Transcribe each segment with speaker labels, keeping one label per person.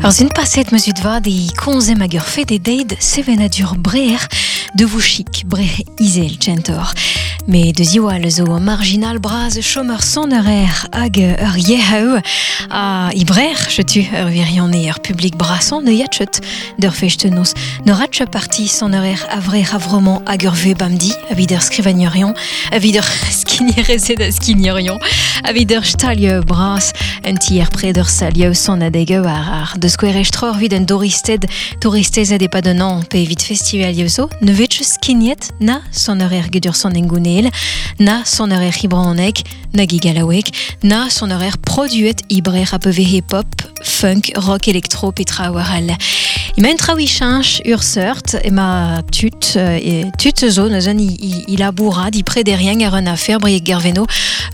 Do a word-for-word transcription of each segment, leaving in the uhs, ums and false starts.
Speaker 1: Ur zun paset meus ut vad e konzem hag ur fed e deid sevenadur breer de vouchik bre izel tchentor. Me de ziwall zo marginal braz chom ur sonerer hag ur yeheu a i brer chetu ur virione ur public brason ne yatchet d'ur fechtenos. Ne ratche parti sonerer avre avromant hag ur ve bamdi a vid ur skrivagnerion a vid ur skinierezet a skignerion a vid ur stalio bras un tier pred ur salio son adegeu ar ar de skouer estror vid un touristed touristezed e pad un an pe evit festival zo ne vetch skignet na sonerer gedur son engounel na sonerer hibraneg na gigalawek na sonerer produet ibrer a peve hip-hop funk, rock, elektro, petra war al. Ima un traoù chanch ur seurt ema tut e tut zo neuzen i, i, i laboura di prederien ar un affaire brieg gerveno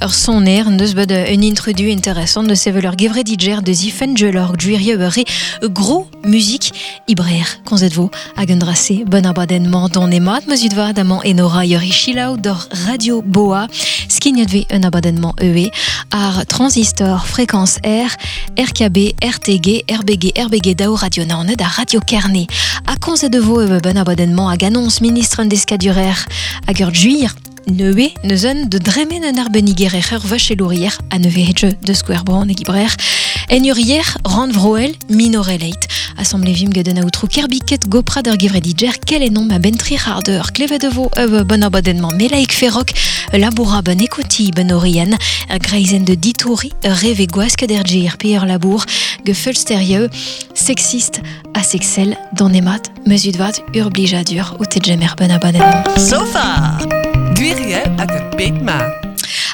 Speaker 1: ur soner neus bet un introdu intéressant de sevel ur gevredidjer de zifen jelor guirie ur re gros musique ibrer konzet vo hag un drase bon abadennement don emat meus ut vad amañ enora ur chilaou d'or Radio Boa skignat ve un abadennement E E ar Transistor Fréquence R R K B R T G R B G R B G daou Radio Naoned a Radio Kerne. A konzet vo bon abadennement hag annonce ministre an deskadurer hag ur juir neue neuzen de dremen un arbeniger ur vachelourier a neve hedge de Square Brand e gibrer en urier rand vroel minoreleit. Assemblée vim geden aotrou kerbiket goprad ur gevredidjer kel enon ma ben tri c'hardeur klevet vo ur bon abadennement melaik ferrok laboura ben ekoti ben orian ur greizen de ditouri ur reve gwask der G R P ur labour gefelsterieux sexiste a sexel don emat mesud vat ur blijadur ou tegemer ben abadennement.
Speaker 2: Sofa! Gwiriel hag ur bed ma.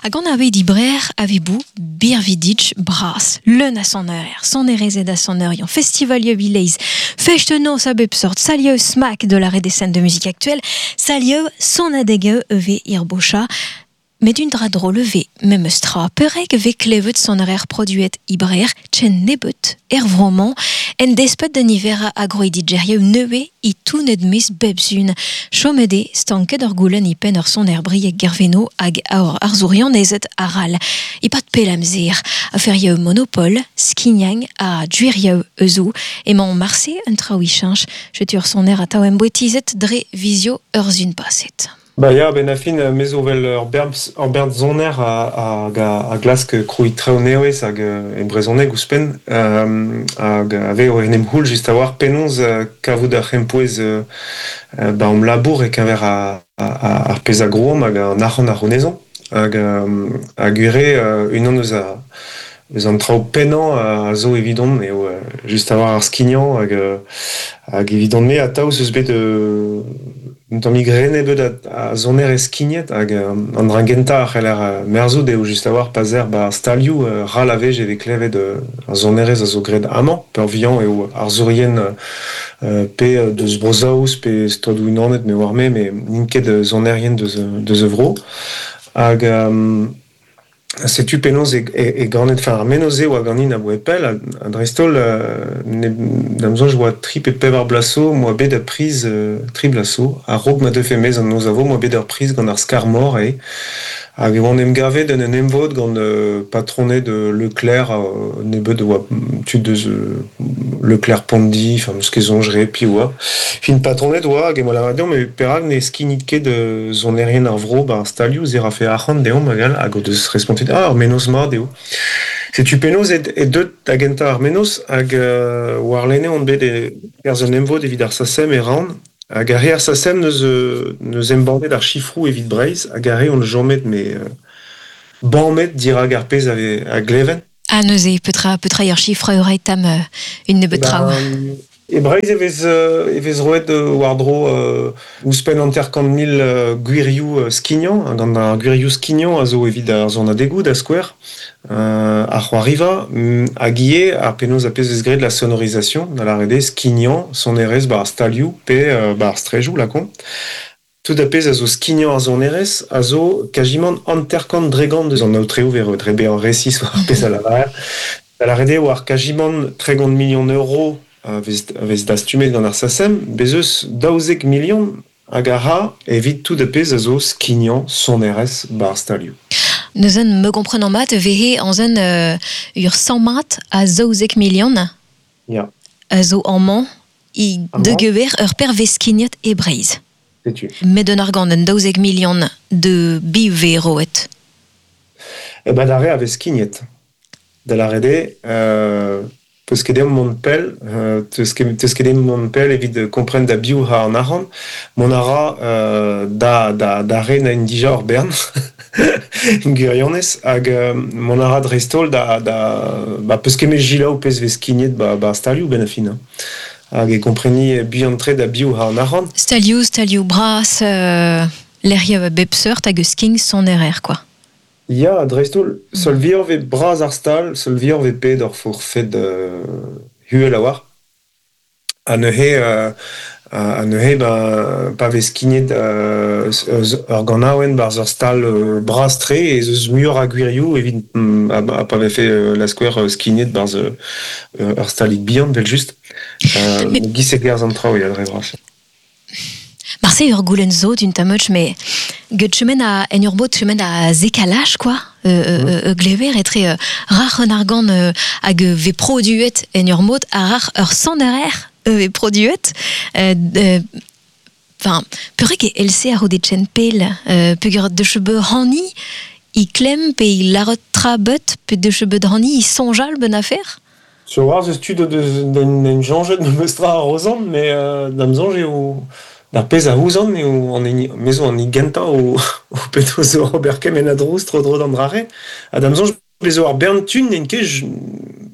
Speaker 1: Hag an ave di brer ave bou birvidic bras, leun a son eur, son erezet a son eur, festival vileiz, fechte nos a bep sort, salieu smack de l'arrêt des scènes de musique actuelle, salieu son adegeu eve irbocha, met un dra drôle ve, même stra, pereg ve klevet son horaire produet ibrer, chen nebet, er vroman, en despet d'un hiver agroidigerio neue i tounet mis bebzun. Chomede, stanket ur goulen i pen ur son er brieg gerveno hag aor arzourion ezet aral. I pat pelamzer, a ferieu monopole, skignang a duirieu euzou, emañ marse un traoui chinch, jetur son er a taoem boetizet dre visio urzun paset.
Speaker 3: Ba ya, ben a fin, me zo vel ur berb, ur berb zoner a, a, a, a glask kroui treo neoez hag e brezhoneg ouzhpenn, euh, hag ave o en em houl just a war penaos kavout ar c'hempouez euh, ba om labour e keñver a, a, a, ar pezh a groom hag an arc'hant ar ronezon hag, hag ure unan eus a eus an traoù pennañ a zo evidon eo just a war ar skignañ hag, hag evidon me atav eus bet euh, un tamm grene bet a, a zoner eskignet hag an dra gentañ a c'heller merzout eo just a war pazer ba stalioù ral a vej eve klevet ar zonerez a zo graet amañ peurvuiañ eo ar zourien pe deus Bro-Saoz pe Stadoù Unanet me war me me n'int ket zonerien deus, deus vro hag um, setu penaos e, e, e ganet, enfin, ar menoz eo a ganin a boe pell, a dreist-holl, euh, da'm soñj oa tri pe pevar blaso, moa bet a priz, euh, tri blaso, a-raok ma deufe mez an noz a vo, moa bet ur priz gant ar skar-mor e, hag e oan em gavet en un emvod gant euh, patroned de Leclerc, euh, nebeud oa tud deus euh, Leclerc Pondi, enfin, meus ket soñjre, pi oa. Fin patroned oa, hag e moa lavaret deomp, me perak ne skignit ket euh, zonerien ar vro ba ar stalioù, ze rafe arc'hant deomp hag all, hag o deus respontet, ah, ar menoz mat eo. Setu penaos e, e deut da gentañ ar menoz, hag euh, war lene on bet e kerzh un emvod evit ar SACEM e ran, hag ar re ar SACEM neus, neus embannet ar chifroù evit Breizh, hag ar re on jomet me euh, banmet dirak ar pezh ave a gleven.
Speaker 1: Ah, neuze, petra, petra ur chifre ur tam euh, une nebeut traoù.
Speaker 3: Ben, e Breizh e vez, euh, e vez roet euh, war-dro euh, ouzhpenn hanter-kant mil euh, gwirioù euh, skignañ, gant ar gwirioù skignañ a zo evit ar zonadegou da skouer, euh, ar c'hoariva, hag ivez ar penaos a pezh vez graet la sonorisation, da lâret eo skignañ, sonerezh ba ar stalioù pe euh, ba ar strejoù lakon. Tout a pezh a zo skignañ ar sonerezh a zo kajimant hanter-kant dregant deus an aotreo ver dre bezañ resis war ar pezh a lavarer. Da lâret eo war kajimant tregont million euro a vez, a vez dastumet gant ar SACEM, bez eus daouzek million hag a ra evit tout a pezh a zo skignañ sonerezh ba ar stalioù.
Speaker 1: Neuzen me komprenant mat vehe an zen euh, ur cent mat a zaouzek million.
Speaker 3: Ya.
Speaker 1: a zo amañ i de gewer ur perveskignet e Breizh.
Speaker 3: Setu.
Speaker 1: Met un argant un daouzek milion de biveroet.
Speaker 3: E ba d'ar re a vez skignet. Da la rede, euh, peus ket deomp mont pell, euh, teus ket, teus ket deomp mont pell evit kompren da biv ha an arc'hant, mont a ra euh, da, da, da re na en dija ur bern, gwirionez, hag euh, mont a ra dreist-holl da, da, ba, peus ket me jilaou pezh vez skignet ba, ba stalioù ben a fin. Hein. Hag e kompreni buan-tre da biv ha an arc'hant.
Speaker 1: Stalioù, stalioù bras, euh, lec'hioù a bep seurt hag eus king son erer, quoi.
Speaker 3: Ya, dreist-holl, seul vioc'h vez bras ar stal, seul vioc'h vez pet ur forfed euh, huel a war. Ha neuze, euh, ha neuze ba, pa vez skignet euh, ur ganaouenn barzh ur stal euh, bras-tre ez eus muioc'h a gwirioù evit mm, ha, ha pa vefe euh, la skouer euh, skignet barzh euh, ur stalig bihan, vel just. Euh,
Speaker 1: Mais-
Speaker 3: Giz e gerzh an traoù, ya, dre vras.
Speaker 1: Marse ur goulenn zo d'un tamoch, mais get chemen a, en ur bot chemen a zekalaj, quoi, euh, euh, euh, glever etre euh, rac'h un argant euh, hag ve produet en ur mod a rac'h ur sonerer ve produet. Euh, euh, Enfin, peurek e L C a ro de chen pel, euh, peogwir de chebe hani, i klemm pe i larot tra beut, pe de chebe hani i sonjal ben affaire?
Speaker 3: Sur war zeus tud o deus en en jañjet memes tra ar rozan, mais euh, da'm soñj eo d'ar pezh a ouzan eo an hini, me zo an hini gentañ o, o peto zo ober kement a drouz tro-dro d'an drare. Ha da'm soñj bezo ar bern tun n'en ket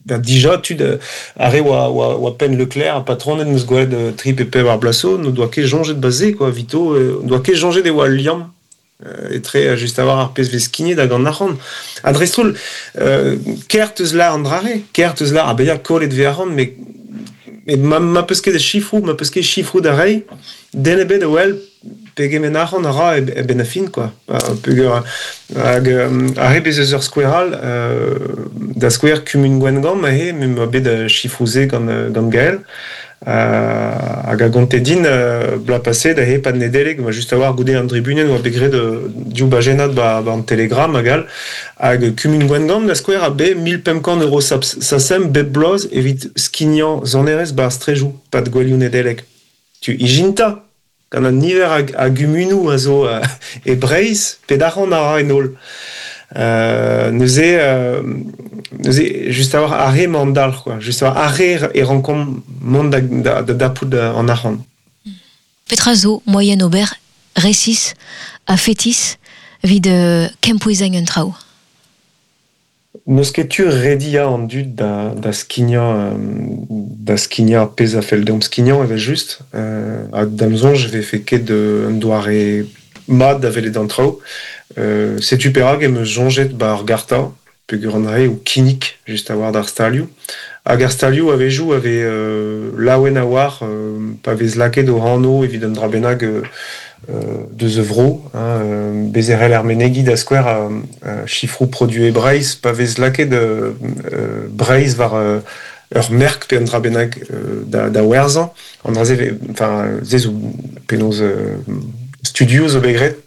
Speaker 3: da dija tud ar re oa, oa, oa penn Leclerc ha patronet neus gwelet euh, tri pe pevar blaso, n'o doa ket jañjet baze, quoi, vito, euh, doa ket jañjet e oa al liamm. Euh, etre euh, just a war ar pezh vez skignet hag an arc'hant. Ha dreist-holl, euh, ker teus lar an drare, ker teus lar a bezañ kollet vez arc'hant, mais mais ma, ma peus ket chifroù, ma peus ket chifroù da reiñ, den ebet a wel pegement arc'hant a ra e, e ben a fin, quoi. Peogwir hag euh, ar re bez eus ur skouer all, euh, da skouer kumun Gwengamp aze, me ma bet chifroù-se gant, gant Gaël, euh, hag a gonte din euh, bloaz paset aze pad Nedeleg, ma just a war goude an dribunen oa bet graet euh, div bajennad ba, ba an Telegram hag all, hag kumun Gwengamp da skouer a bet mil pemp kant euro sasem bep bloaz evit skignañ sonerezh ba ar strejoù pad gwelioù Nedeleg. Tu ijinta gant an niver a, a gumunoù a zo euh, e Breizh, pet arc'hant a ra en holl. Euh, neuze, euh, neuze, just a war ar re emañ an dalc'h, quoi. Just a war ar re e rankomp mont da, da, da dapout an arc'hant.
Speaker 1: Petra zo moyen ober resis a fetis evit euh, kempouezañ un traoù?
Speaker 3: N'eus ket tu rediañ an dud da, da skignañ, euh, da skignañ ar pezh a fell deomp skignañ evel just. Euh, ha da'm soñj e vefe ket un doare mat da welet an traoù. Euh, setu perak em eus soñjet ba ar garta, peogwir an re o kinnig just a war d'ar stalioù. Hag ar stalioù a-wezhioù a vez euh, laouen a war euh, pa vez lakaet o anv evit un dra bennak euh, euh, deus a vro, hein, euh, bez e c'hell ar menegi da skouer euh, euh, chifroù produet Breizh, pa vez lakaet euh, euh, Breizh war euh, ur merk pe un dra bennak euh, da, da werzhañ. An dra-se vez, enfin, se zo penaos euh, studio zo bet graet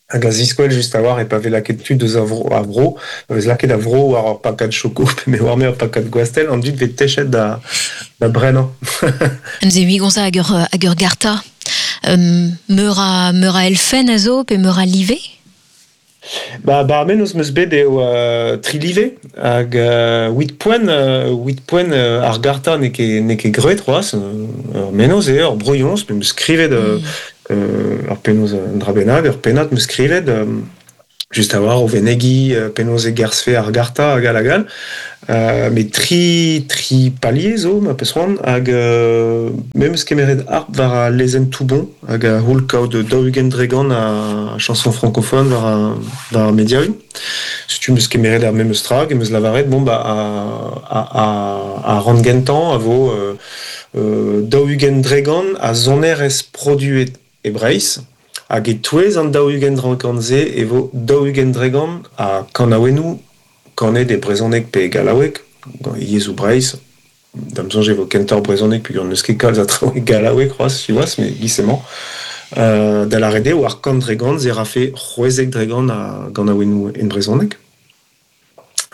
Speaker 3: hag a ziskouel just a war e pa vez lakaet tud deus a vro, a vro, pa vez lakaet a vro war ur pakad choko, pe me war me ur pakad gwastell, an dud vez techet da, da brenañ.
Speaker 1: Neuze ui gonza hag ur, hag ur garta. Um, meur a, meur a elfenn a zo pe meur a live?
Speaker 3: Ba, ba ar mennozh 'm eus bet eo euh, tri live hag euh, huit poent, euh, huit poent euh, ar garta n'eo ket, n'eo ket graet c'hoazh, ur mennozh eo, ur brouilhoñs, me 'm eus skrivet euh,
Speaker 1: Mm.
Speaker 3: euh, ur penaos un dra bennak, ur pennad 'm eus skrivet, euh, just a war o venegi euh, penaos e gerzhfe ar garta hag all hag all. Euh, met tri, tri palier zo, ma peus c'hoant, hag euh, me 'm eus kemeret harp war al lezenn Toubon, hag a c'houl kaout daou-ugent dregant a chanson francophone war ar, war ar mediaoù. Setu 'm eus kemeret ar memes tra, hag em eus lavaret, bon, ba, a, a, a, a ran gentañ a vo euh, euh, daou-ugent dregant a sonerezh produet e Breizh, hag e-touez an daou-ugent dregant-se e vo daou-ugent dregant a kanaouennoù kanet e brezhoneg pe e gallaoueg, gant yezhoù Breizh. Da'm soñj e vo kentoc'h brezhoneg peogwir n'eus ket kalz a traoù e gallaoueg c'hoazh, siwazh, mais giz-emañ. Euh, da lâret eo war kant dregant se rafe c'hwezek dregant a ganaouennoù en brezhoneg.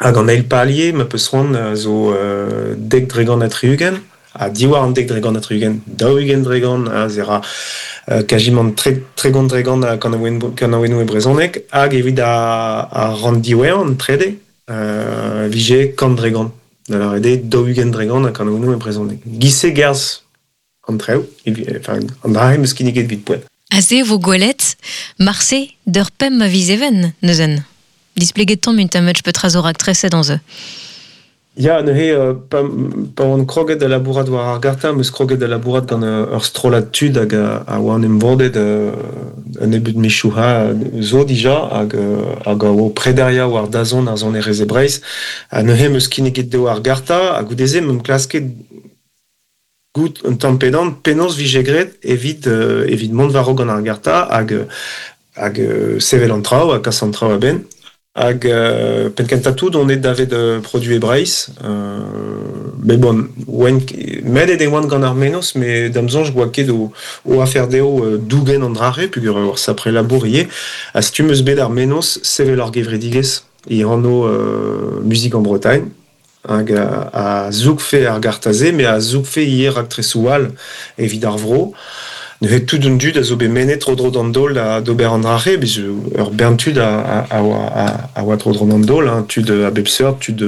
Speaker 3: Hag an eil palier, ma peus c'hoant, zo euh, dek dregant ha tri-ugent, Ha diwar an dek dregant ha tri-ugent, daou-ugent dregant, ha ze ra euh, kajimant tre, tregont dregant a kanaouennoù e brezhoneg, hag evit a, a ran diwezhañ an trede, euh, vije kant dregant. Da lâret eo daou-ugent dregant a kanaouennoù e brezhoneg. Giz-se gerzh an traoù, enfin, an dra-se 'm eus kinniget evit poent.
Speaker 1: Aze vo gwelet, marse d'ur pemp a viz even, neuzen. Displeget tamm un tamm petra zo raktreset an ze.
Speaker 3: Ya, neuze, euh, pa, pa oan kroget da labourat war ar garta, 'm eus kroget da labourat gant ur strollad tud hag a, a oan em vodet euh, un nebeud mizioù ha zo dija hag, hag a oa prederia war dazont ar sonerezh e Breizh. Ha neuze 'm eus kinniget dezho ar garta, ha goude-se 'm eus klasket goût un tamm pedan penaos vije graet evit, euh, evit mont war-raok gant ar garta hag, hag euh, sevel an traoù ha kas an traoù a-benn. Hag euh, penn-kentañ tout on eo davet euh, Produet Breizh, euh, mais bon, oan, medet e oan gant ar mennozh, met da'm soñj oa ket o, o afer dezho euh, dougen an dra-se, peogwir ur sapre labour ivez, ha setu 'm eus bet ar mennozh sevel ar gevredigezh e anv euh, Musique en Bretagne, hag a, a zougfe ar garta-se, met a zougfe ivez raktresoù all evit ar vro. Neuze tout an dud a zo bet mennet tro-dro d'an daol da d'ober an dra-se, bez ur bern tud a, a, a, a, a oa tro-dro d'an daol, hein, tud a bep seurt, tud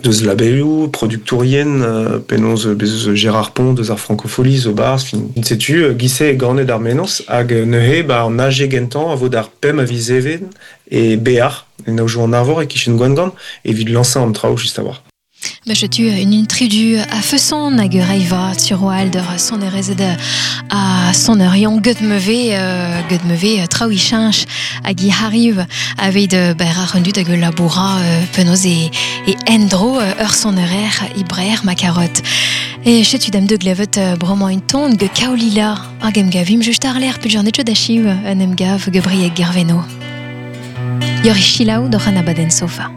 Speaker 3: deus labelioù, produktourien, euh, penaos bez eus Gérard Pont deus ar Francofolies zo 'barzh, fin. Setu, giz-se ganet ar mennozh, hag neuze ba an A G gentañ a vo d'ar pemp a viz even e Bear, en aojoù an Arvor e-kichen Gwengamp, evit lansañ an traoù just a-walc'h.
Speaker 1: Ba setu un intridu a feson hag ur reiva sur oal d'ur sonerezed a sonerion get meve euh, get meve traoù i cheñch hag i hariv aveit ber ar un dud hag ul laboura euh, penaos e, e endro ur sonerer i brer ma karot. E setu dam de glevet bremañ un ton ge kaolila hag em gavim just ar l'air peogwir net da chiv un em gav ge Brieg Gerveno. Yori chilaou d'oc'h an abadenn sofa.